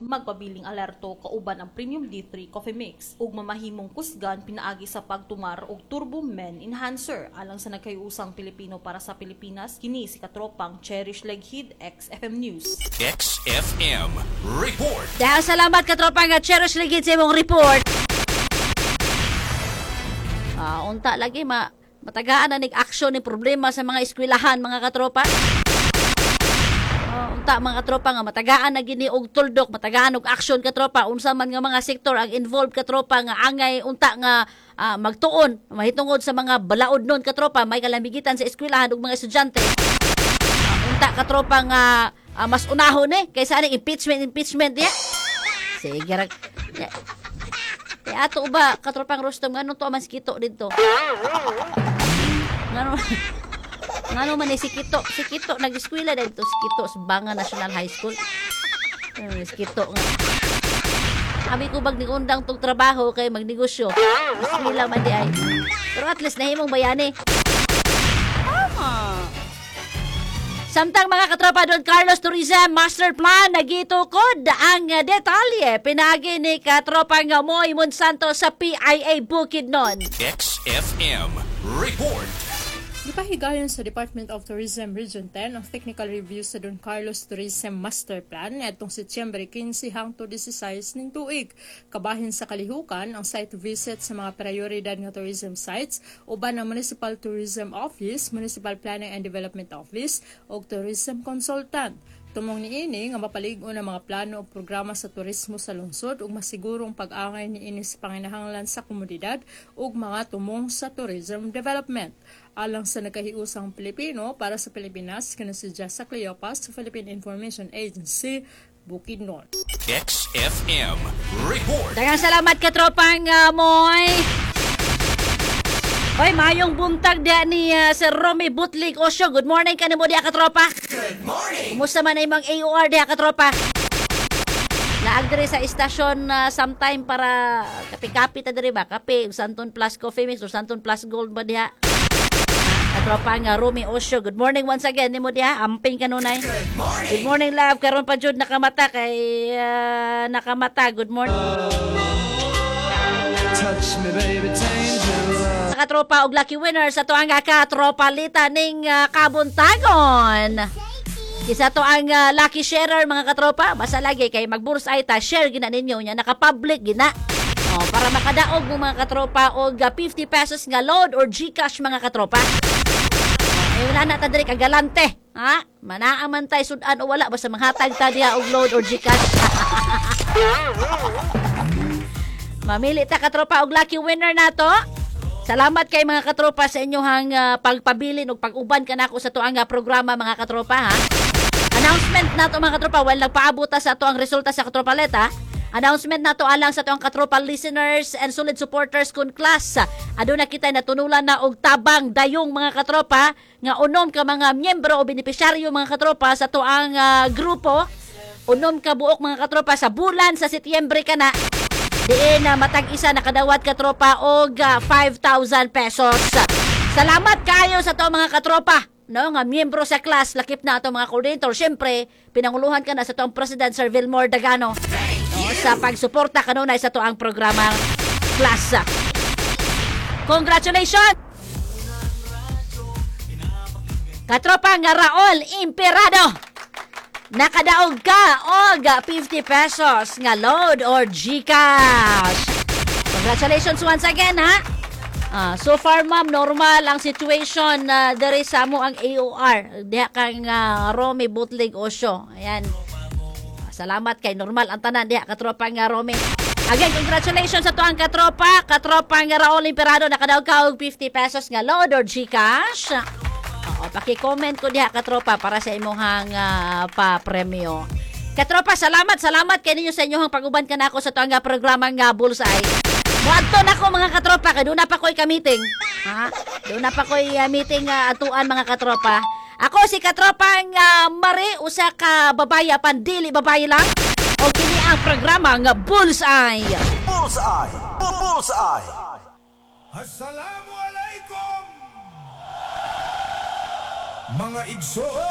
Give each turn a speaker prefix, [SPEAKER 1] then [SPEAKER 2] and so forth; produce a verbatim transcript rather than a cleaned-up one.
[SPEAKER 1] Magpabiling alerto kauban ang Premium D three Coffee Mix ug mamahimong kusgan pinaagi sa pagtumar og Turbo Men Enhancer alang sa nagkayusang Pilipino para sa Pilipinas. Kini si katropang Cherish Leghid, X F M News.
[SPEAKER 2] X F M Report.
[SPEAKER 3] Dahil salamat, katropa nga Cherish Ligid, sa imong report. Ah, unta lagi ma matagaan na nig action ni problema sa mga eskwelahan, mga katropa. Ah, unta, mga katropa, nga matagaan na gini og tuldok, matagaan og action, katropa, unsa man nga mga sektor ang involved, katropa, nga angay unta nga ah, magtuon mahitungod sa mga balaod nun, katropa, may kalamigitan sa eskwelahan ug mga estudyante. Ah, unta, katropa, nga ah, mas unahon eh kaysa aning impeachment impeachment diya. Sige ra. Ya. Eh, ato ba, katropang Rustom, ngano to man si Kito dito? Ngano ngano man ni si Kito? Si Kito nag-eskwela dito, si Kito sa Banga National High School. Eh, si Kito nga. Abi ko bag undang tong trabaho kay magnegosyo. Eskwela man di ay. Pero at least nahimong bayani. Tama. Samtang, mga katropa, Don Carlos Tourism Master Plan nagitukod ang detalye pinaagi ni katropang Moy Monsanto sa P I A Bukidnon.
[SPEAKER 2] X F M Report.
[SPEAKER 4] Gipahigayon sa Department of Tourism Region ten ang technical review sa Don Carlos Tourism Master Plan ngadtong Setyembre kinse hangtod disasais ning tuig. Kabahin sa kalihukan ang site visit sa mga prioridad nga tourism sites uban ang Municipal Tourism Office, Municipal Planning and Development Office ug tourism consultant. Tumong niini nga mapalig-on ang mga plano ug programa sa turismo sa lungsod ug masigurong pag-angay niini sa panginahanglan sa komunidad ug mga tumong sa tourism development. Alang sa nagkahiusang Pilipino para sa Pilipinas, kini si Jessa Cleopas sa Philippine Information Agency, Bukidnon.
[SPEAKER 2] X F M Report.
[SPEAKER 3] Daghang salamat, katropang uh, Moy. Hoy, mayong buntag diya ni uh, Sir Romy Butlig Osio. Good morning kanimo diya, katropa. Good morning. Kumusta man ang imong A O R diya, katropa? Laag diri sa istasyon uh, sometime para kape-kape ta diri ba? Kape, Santon Plus Coffee Mix o Santon Plus Gold ba diha? Katropa nga Romy Osio. Good morning once again nimo diha. Amping kanunay. Good morning. Good morning, love. Karon pa jud nakamata kay uh, nakamata. Good morning.
[SPEAKER 5] Touch me, baby, dangerous.
[SPEAKER 3] Sa katropa og lucky winner sa tuang katropa lita ning uh, kabuntagon. Isa to ang uh, lucky sharer, mga katropa. Basta lagi kay mag-bullseye ta, share gina ninyo nya naka-public gina. Oh, para makadaog mo, mga katropa, og uh, fifty pesos nga load or GCash, mga katropa. Oh, ay wala na ta diri kagalante. Ha? Manaa man tay sudan o wala, basta manghatag ta diha og load or GCash. Mamili ta, katropa, og lucky winner nato. Salamat kay, mga katropa, sa inyong uh, pagpabilin ug pag-uban kanako sa tuang uh, programa, mga katropa, ha. Announcement nato, mga katropa, while nagpaabot ta sa ato ang resulta sa katropa leta. Announcement nato alang sa tuang katropa listeners and solid supporters kun class. Aduna kita natunulan na og tabang dayong, mga katropa, nga unom ka mga miyembro o benepisyaryo, mga katropa, sa tuang uh, grupo. Unom ka buok, mga katropa, sa bulan sa Setyembre kana diin na matag isa nakadawat, katropa, og ah, five thousand pesos. Salamat kayo sa to mga katropa, no, nga miyembro sa class, lakip na ato mga coordinator. Syempre, pinanguluhan ka na sa toang President Sir Vilmore Dagano, no, sa pagsuporta kanunay sa toang programa class. Congratulations! Katropa nga Raol Imperado. Nakadaog ka og fifty pesos nga load or GCash. Congratulations once again, ha. Ah, so far, ma'am, normal ang situation uh, diri sa amo ang A O R. Diha kang uh, Romy Butlig Osyo. Ayan. Salamat kay normal ang tanan diha, katropa nga Romy. Again, congratulations sa tuang katropa, katropa nga Raul Imperado, nakadaog ka og fifty pesos nga load or GCash. Oo, paki-comment ko diha, katropa, para sa imong uh, pa-premyo. Katropa, salamat, salamat kay ninyo sa inyong pag-uban kanako sa tuang programa nga Bullseye. Muadto na ko, mga katropa, kay doon na pa ko'y ka-meeting. Ha? Doon na pa ko'y uh, meeting uh, atuan, mga katropa. Ako si katropang uh, Mari, usa ka babaye apan dili babaye lang. O kini ang programa nga Bullseye.
[SPEAKER 6] Bullseye! Bullseye!
[SPEAKER 7] Assalamu alaikum, mga igsoon!